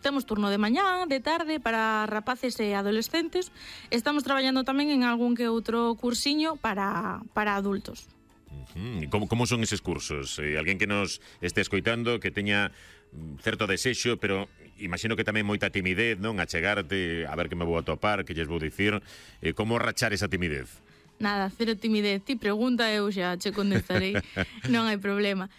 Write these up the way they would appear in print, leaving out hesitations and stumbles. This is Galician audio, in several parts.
Temos turno de mañá, de tarde, para rapaces e adolescentes. Estamos traballando tamén en algún que outro cursiño para adultos. Como son eses cursos? Alguén que nos este escoitando, que teña certo desexo, pero imagino que tamén moita timidez, non? A chegarte, a ver que me vou atopar, que lles vou dicir. Como rachar esa timidez? Nada, cero timidez. Ti pregunta, eu xa che contestarei. Non hai problema.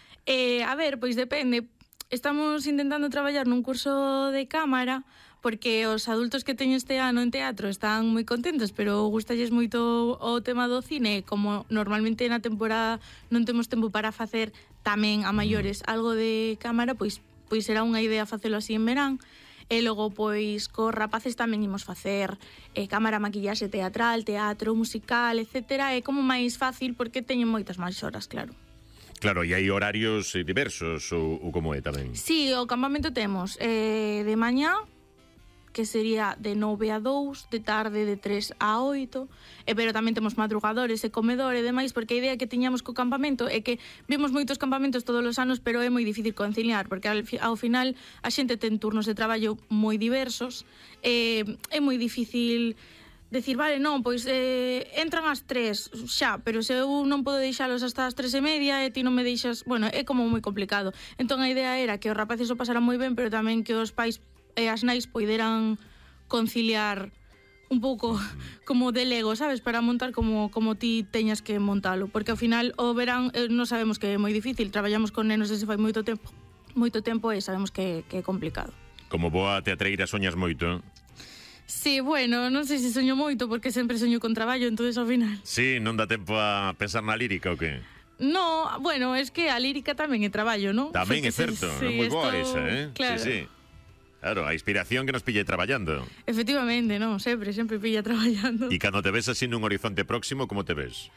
A ver, pois depende. Estamos intentando traballar nun curso de cámara porque os adultos que teño este ano en teatro están moi contentos, pero gustalles moito o tema do cine. Como normalmente na temporada non temos tempo para facer tamén a maiores algo de cámara, pois será unha idea facelo así en verán. E logo, pois, cos rapaces tamén imos facer cámara, maquillaxe teatral, teatro, musical, etcétera. É como máis fácil porque teñen moitas máis horas, claro. Claro, e hai horarios diversos ou como é tamén? Sí, o campamento temos de mañá, que sería de 9 a 2, de tarde de 3 a 8, pero tamén temos madrugadores e comedor e demais, porque a idea que tiñamos co campamento é que vimos moitos campamentos todos os anos, pero é moi difícil conciliar, porque ao final a xente ten turnos de traballo moi diversos, é moi difícil decir, vale, non, pois entran ás 3 xa, pero se eu non podo deixalos hasta as 3:30 e ti non me deixas, bueno, é como moi complicado. Entón a idea era que os rapaces o pasaran moi ben, pero tamén que os pais e as nais poideran conciliar un pouco como de lego, sabes, para montar como ti teñas que montalo, porque ao final o verán non sabemos que é moi difícil, traballamos con nenos desde fai moito tempo e sabemos que é complicado. Como boa teatreira soñas moito? Sí, bueno, non sei se soño moito porque sempre soño con traballo, entonces ao final. Sí, non dá tempo a pensar na lírica ou que? No, bueno, es que a lírica tamén é traballo, non? Tamén é certo, é moi boa esa, Claro. Sí. Claro, a inspiración que nos pille traballando. Efectivamente, non, sempre pilla traballando. E cando te ves así nun horizonte próximo, como te ves?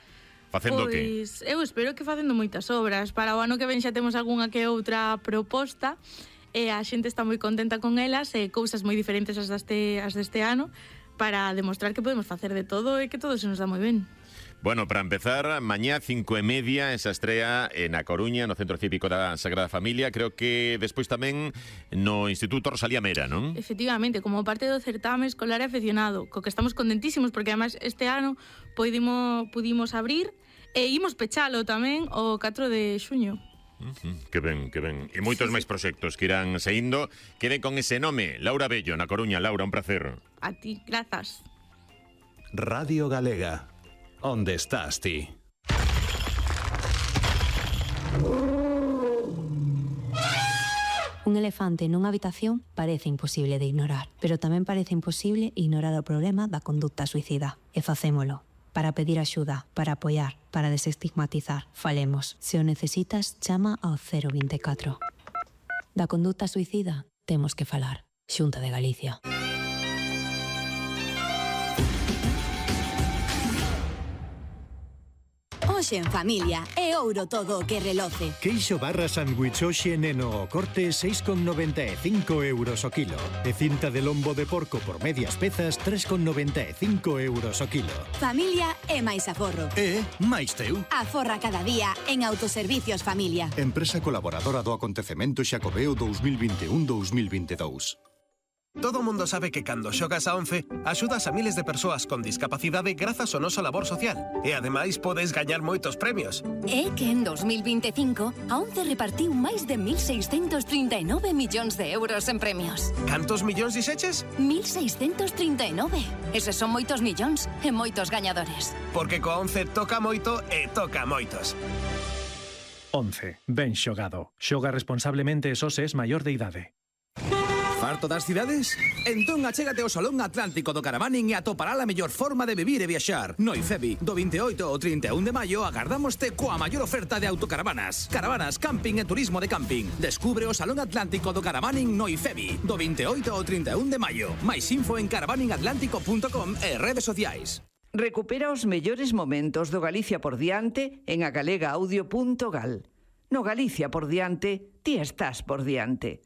Facendo que? Pois, eu espero que facendo moitas obras. Para o ano que ven xa temos algunha que outra proposta, e a xente está moi contenta con elas e cousas moi diferentes as deste ano para demostrar que podemos facer de todo e que todo se nos dá moi ben. Bueno, para empezar, mañá 5:30 esa estrea na Coruña, no Centro Cívico da Sagrada Familia. Creo que despois tamén no Instituto Rosalía Mera, non? Efectivamente, como parte do certame escolar e aficionado, co que estamos contentísimos porque además este ano pudimos abrir e imos pechalo tamén o 4 de xuño. Que ben, que ben. E moitos máis proxectos que irán saindo. Queden con ese nome, Laura Bello, na Coruña. Laura, un placer. A ti, grazas. Radio Galega. Onde estás ti? Un elefante nunha habitación parece imposible de ignorar, pero tamén parece imposible ignorar o problema da conducta suicida. E facémolo. Para pedir axuda, para apoiar, para desestigmatizar. Falemos. Se o necesitas, chama ao 024. Da conducta suicida, temos que falar. Xunta de Galicia. Hoxe en familia é ouro todo o que reloce. Queixo barra sándwich hoxe neno o corte 6,95 euros o kilo. E cinta de lombo de porco por medias pezas 3,95 euros o kilo. Familia é máis aforro. máis teu. Aforra cada día en Autoservicios Familia. Empresa colaboradora do acontecemento Xacobeo 2021-2022. Todo mundo sabe que cando xogas a 11 axudas a miles de persoas con discapacidade grazas ao noso labor social. E ademais podes gañar moitos premios. É que en 2025 a 11 repartiu máis de 1.639 millóns de euros en premios. Cantos millóns dixeches? 1.639. Eses son moitos millóns e moitos gañadores. Porque co 11 toca moito e toca moitos. 11. Ben xogado. Xoga responsablemente e só se es maior de idade. Farto das cidades? Entón achégate ao Salón Atlántico do Caravaning e atopará a mellor forma de vivir e viaxar. No IFEBI, do 28 ao 31 de maio, agardámoste coa maior oferta de autocaravanas. Caravanas, camping e turismo de camping. Descubre o Salón Atlántico do Caravaning no IFEBI, do 28 ao 31 de maio. Mais info en caravaningatlántico.com e redes sociais. Recupera os mellores momentos do Galicia por diante en agalegaudio.gal. No Galicia por diante, ti estás por diante.